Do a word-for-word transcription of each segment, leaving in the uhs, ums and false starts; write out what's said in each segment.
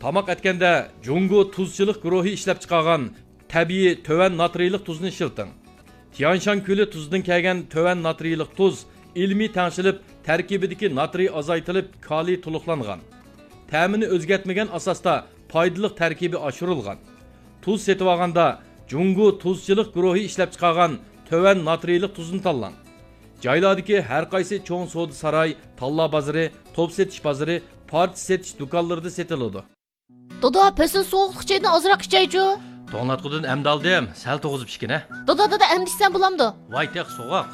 تاماق ئەتكەندە جۇڭگو تۇزچىلىق گۇرۇھى ئىشلەپچىقارغان تەبىئىي تۆۋەن ناترىيلىق تۇزنى ئىشلىتىڭ. تيانشان كۆلى تۇزىدىن كەلگەن تۆۋەن ناترىيلىق تۇز ئىلمىي تەڭشىلىپ، تەركىبىدىكى ناترىي ئازايتىلىپ، كالىي تولۇقلانغان. تەمىنى ئۆزگەرتمىگەن ئاساستا پايدىلىق تەركىبى ئاشۇرۇلغان. تۇز سېتىۋالغاندا جۇڭگو تۇزچىلىق گۇرۇھى ئىشلەپچىقارغان تۆۋەن ناترىيلىق تۇزنى تاللاڭ. جايلاردىكى ھەر قايسى چوڭ سودا ساراي، تاللا بازىرى، توپ سېتىش بازىرى، پارچە سېتىش دۇكانلىرىدا سېتىلىدۇ. دادا، پەسىل سوغۇقلۇق چايدىن ئازراق ئىچەيچۇ. توڭلاتقۇدىن ئەمدى ئالدىم، سەل توغۇزۇپ ئىچكىنە. دادا، دادا، ئەمدى ئىچسەم بولامدۇ؟ ۋاي تېخى سوغۇق.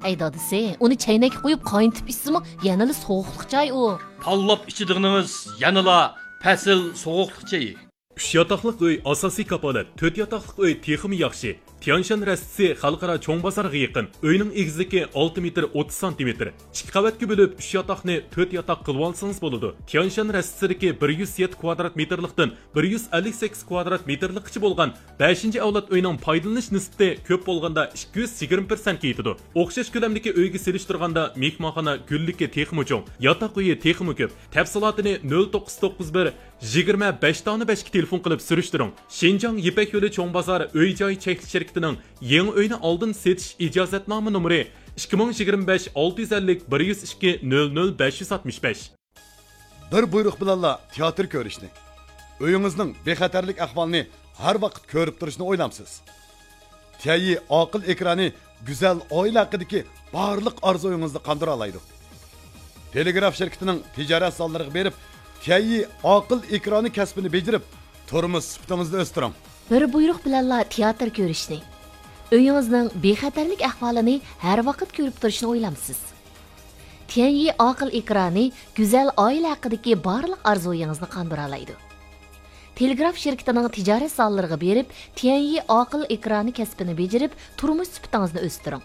ئەي دادىسى، ئۇنى چەينەككە قۇيۇپ قاينىتىپ ئىچسىمۇ يەنىلا سوغۇقلۇق چاي ئۇ. تاللاپ ئىچىدىغىنىڭىز يەنىلا پەسىل سوغۇقلۇق چېيى. ئۈچ ياتاقلىق ئۆي ئاساسىي كاپالەت، تۆت ياتاقلىق ئۆي تېخىمۇ ياخشى. تيانشان رەستىسى خەلقئارا چوڭ بازارغا يېقىن. ئۆينىڭ ئېگىزلىكى ئالتە مېتىر ئوتتۇز سانتىمېتىر. ئىككى قەۋەتكە بۆلۈپ، ئۈچ ياتاقنى تۆت ياتاق قىلىۋالسىڭىز بولىدۇ. تيانشان رەستىسىدىكى بىر يۈز يەتتە كۋادرات مېتىرلىقتىن بىر يۈز ئەللىك سەككىز كۋادرات مېتىرلىققىچە بولغان بەشىنچى ئەۋلاد ئۆينىڭ پايدىلىنىش نىسبىتى كۆپ بولغاندا ئىككى يۈز يىگىرمە پىرسەنتكە يېتىدۇ. ئوخشاش كۆلەمدىكى ئۆيگە سېلىشتۇرغاندا مېھمانخانا گۈللۈكى تېخىمۇ چوڭ، ياتاق ئۆيى تېخىمۇ كۆپ. تەپسىلاتىنى نۆل توققۇز توققۇز بىر، يىگىرمە بەش دانە بەشكە تېلېفون قىلىپ سۈرۈشتۈرۈڭ. شىنجاڭ يىپەك يولى چوڭ بازار ئۆي جاي چەكلىك شىركىتىنىڭ يېڭى ئۆينى ئالدىن سېتىش ئىجازەتنامە نومۇرى ئىككى مىڭ يىگىرمە بەش ئالتە يۈز ئەللىك بىر يۈز ئىككى نۆل نۆل بەش يۈز ئاتمىش بەش. بىر بۇيرۇق بىلەنلا تىياتىر كۆرۈشنى، ئۆيىڭىزنىڭ بىخەتەرلىك ئەھۋالىنى ھەر ۋاقىت كۆرۈپ تۇرۇشنى ئويلامسىز؟ تيەنيى ئاقىل ئېكرانى گۈزەل ئائىلە ھەققىدىكى بارلىق ئارزۇيىڭىزنى قاندۇرالايدۇ. تېلېگراف شىركىتىنىڭ تىجارەت زاللىرىغا بېرىپ، تيەنيى ئاقىل ئېكرانى كەسپىنى بېجىرىپ، تۇرمۇش سۈپىتىڭىزنى ئۆستۈرۈڭ. بىر بۇيرۇق بىلەنلا تىياتىر كۆرۈشنى، ئۆيىڭىزنىڭ بىخەتەرلىك ئەھۋالىنى ھەر ۋاقىت كۆرۈپ تۇرۇشنى ئويلامسىز؟ تيەنيى ئاقىل ئېكرانى گۈزەل ئائىلە ھەققىدىكى بارلىق ئارزۇيىڭىزنى قاندۇرالايدۇ. تېلېگراف شىركىتىنىڭ تىجارەت زاللىرىغا بېرىپ، تيەنيى ئاقىل ئېكرانى كەسپىنى بېجىرىپ، تۇرمۇش سۈپىتىڭىزنى ئۆستۈرۈڭ.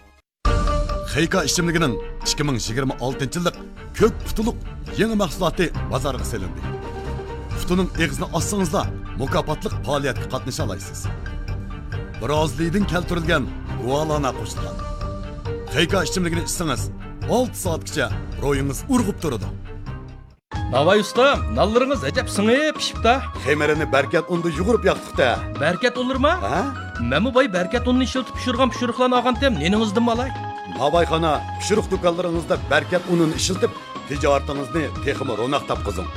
خېيكا ئىچىملىكىنىڭ ئىككى مىڭ يىگىرمە ئالتىنچى يىللىق كۆك پۇتۇلۇق يېڭى مەھسۇلاتى بازارغا سېلىندى. پۇتۇنىڭ ئېغىزىنى ئاچسىڭىزلا، مۇكاپاتلىق پائالىيەتكە قاتنىشالايسىز. برازىلىيىدىن كەلتۈرۈلگەن گۇالانا قوشۇلغان. خېيكا ئىچىملىكىنى ئىچسىڭىز، ئالتە سائەتكىچە روھىڭىز ئۇرغۇپ تۇرىدۇ. ناۋاي ئۇستام، نانلىرىڭىز ئەجەب سىڭىپ پىشىپتا. خېمىرىنى بەركەت ئۇندا يۇغۇرۇپ ياقتۇق-دە. بەركەت ئۇنلىرىما؟ ھە؟ مەنمۇ باي بەركەت ئۇنىنى ئىشلىتىپ پىشۇرغان پىشۇرۇقلارنى ئالغانتىم، نېنىڭىزدىنمۇ ئالاي. ناۋايخانا، پىشۇرۇق دۇكانلىرىڭىزدا بەركەت ئۇنىنى ئىشلىتىپ، تىجارىتىڭىزنى تېخىمۇ روناق تاپقۇزۇڭ.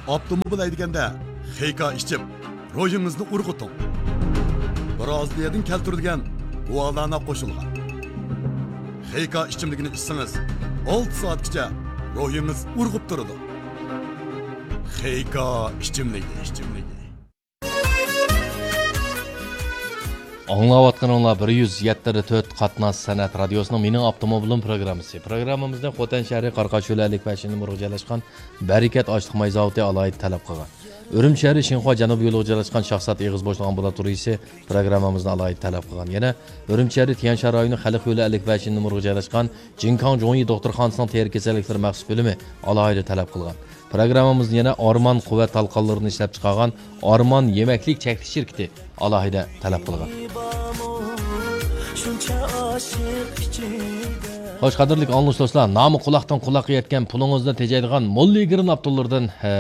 ئاپتوموبىل ھەيدىگەندە خېيكا ئىچىپ، روھىڭىزنى ئۇرغۇتۇڭ. برازىلىيەدىن كەلتۈرۈلگەن گۇالانا قوشۇلغان. خېيكا ئىچىملىكىنى ئىچسىڭىز، ئالتە سائەتكىچە روھىڭىز ئۇرغۇپ تۇرىدۇ. خېيكا ئىچىملىكى، ئىچىملىكى. ئاڭلاۋاتقىنىڭلار بىر يۈز يەتتە تۆت قاتناش سەنئەت رادىيوسىنىڭ مېنىڭ ئاپتوموبىلىم پروگراممىسى. پروگراممىمىزنى خوتەن شەھىرى قاراقاش يولى ئەللىك بەشىنچى نومۇرغا جايلاشقان بەرىكەت ئاشلىق ماي زاۋۇتى ئالاھىدە تەلەپ قىلغان. ئۈرۈمچى شەھىرى شىنخۇا جەنۇبىي يولىغا جايلاشقان شاھزات ئېغىز بوشلۇق ئامبۇلاتورىيىسى پروگراممىمىزنى ئالاھىدە تەلەپ قىلغان. يەنە ئۈرۈمچى شەھىرى تيەنشان رايونى خەلق يولى ئەللىك بەشىنچى نومۇرغا جايلاشقان جىنكاڭ جۇڭيى دوختۇرخانىسىنىڭ تېرە كېسەللىكلىرى مەخسۇس بۆلۈمى ئالاھىدە تەلەپ قىلغان. پروگراممىمىزنى يەنە ئارمان قۇۋۋەت تالقانلىرىنى ئىشلەپچىقارغان ئارمان يېمەكلىك چەكلىك شىركىتى ئالاھىدە تەلەپ قىلغان. خوش، قەدىرلىك ئاڭلىغۇچى دوستلار، نامى قۇلاقتىن قۇلاققا يەتكەن پۇلىڭىزنى تېجەيدىغان موللىگرىن ئاپتوموبىلىدىن، ھە،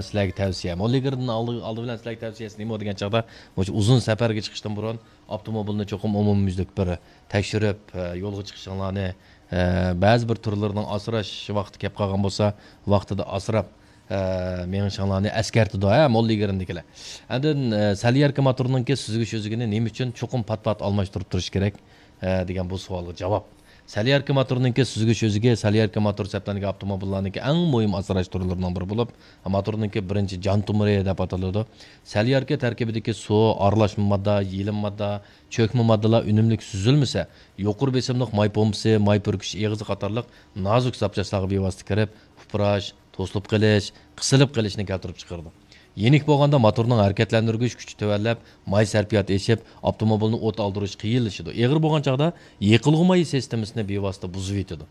سىلەرگە تەۋسىيە. موللىگرىننىڭ ئالدى، ئالدى بىلەن سىلەرگە تەۋسىيەسى نېمە دېگەن چاغدا، مۇشۇ ئۇزۇن سەپەرگە چىقىشتىن بۇرۇن ئاپتوموبىلنى چوقۇم ئومۇميۈزلۈك بىر تەكشۈرۈپ، ھە، يولغا چىقىشىڭلارنى، ھە، بەزى بىر تۈرلىرىنىڭ ئاسراش ۋاقتى كەپ قالغان بولسا، ۋاقتىدا ئاسراپ، ئە، مېڭىشىڭلارنى ئەسكەرتىدۇ، ھە، موللىگرىندىكىلەر. ئاندىن، ئە، سەلياركا موتورنىڭكى سۈزگۈچ ئۆزىكىنى نېمە ئۈچۈن چوقۇم پات-پات ئالماشتۇرۇپ تۇرۇش كېرەك، ئە، دېگەن بۇ سوئالغا جاۋاب. سەلياركا موتورنىڭكى سۈزگۈچ ئۆزىكى سەلياركا موتور سەپلەنگەن ئاپتوموبىللارنىڭكى ئەڭ مۇھىم ئاسراش تۈرلىرىنىڭ بىرى بولۇپ، موتورنىڭكى بىرىنچى جان تومۇرى دەپ ئاتىلىدۇ. سەلياركا تەركىبىدىكى سۇ، ئارىلاشما ماددا، يېلىم ماددا، چۆكمە ماددىلار ئۈنۈملۈك سۈزۈلمىسە، يۇقىرى بېسىملىق ماي پومپىسى، ماي پۈركۈش ئېغىزى قاتارلىق نازۇك زاپچاسلارغا بىۋاسىتە كىرىپ، ئۇپراش، توسۇلۇپ قېلىش، قىسىلىپ قېلىشنى كەلتۈرۈپ چىقىرىدۇ. يېنىك بولغاندا موتورنىڭ ھەرىكەتلەندۈرگۈچ كۈچى تۆۋەنلەپ، ماي سەرپىياتى ئېشىپ، ئاپتوموبىلنى ئوت ئالدۇرۇش قىيىنلىشىدۇ. ئېغىر بولغان چاغدا يېقىلغۇ مايى سىستېمىسىنى بىۋاسىتە بۇزۇۋېتىدۇ.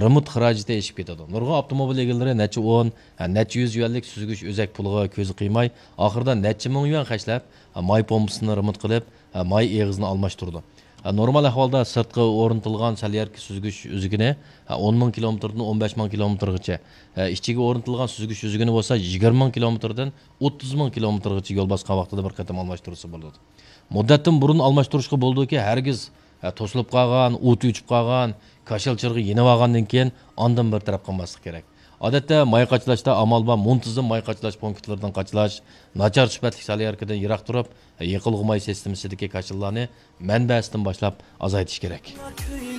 رېمونت خىراجىتى ئېشىپ كېتىدۇ. نۇرغۇن ئاپتوموبىل ئېگىلىرى نەچچە ئون، نەچچە يۈز يۈەنلىك سۈزگۈچ ئۆزەك پۇلىغا كۆزى قىيماي، ئاخىرىدا نەچچە مىڭ يۈەن خەجلەپ، ماي پومپىسىنى رېمونت قىلىپ، ماي ئېغىزىنى ئالماشتۇرىدۇ. ھە، نورمال ئەھۋالدا سىرتقا ئورنىتىلغان سەليەركە سۈزگۈچ ئۈزۈكىنى، ھە، ئون مىڭ كىلومېتىردىن ئون بەش مىڭ كىلومېتىرغىچە، ھە، ئىچىگە ئورنىتىلغان سۈزگۈچ ئۈزۈكىنى بولسا يىگىرمە مىڭ كىلومېتىردىن ئوتتۇز مىڭ كىلومېتىرغىچە يول باسقان ۋاقتىدا بىر قېتىم ئالماشتۇرسا بولىدۇ. مۇددەتتىن بۇرۇن ئالماشتۇرۇشقا بولىدۇكى، ھەرگىز، ھە، توسۇلۇپ قالغان، ئوتى ئۆچۈپ قالغان، كاشىلا چىرىغى يېنىۋالغاندىن كېيىن ئاندىن بىر تەرەپ قىلماسلىق كېرەك. ئادەتتە ماي قاچىلاشتا ئامال بار، مۇنتىزىم ماي قاچىلاش پونكىتلىرىدىن قاچىلاش، ناچار سۈپەتلىك سەليەركىدىن يىراق تۇرۇپ، يېقىلغۇ ماي سىستېمىسىدىكى كاشىلىلارنى مەنبەسىدىن باشلاپ ئازايتىش كېرەك.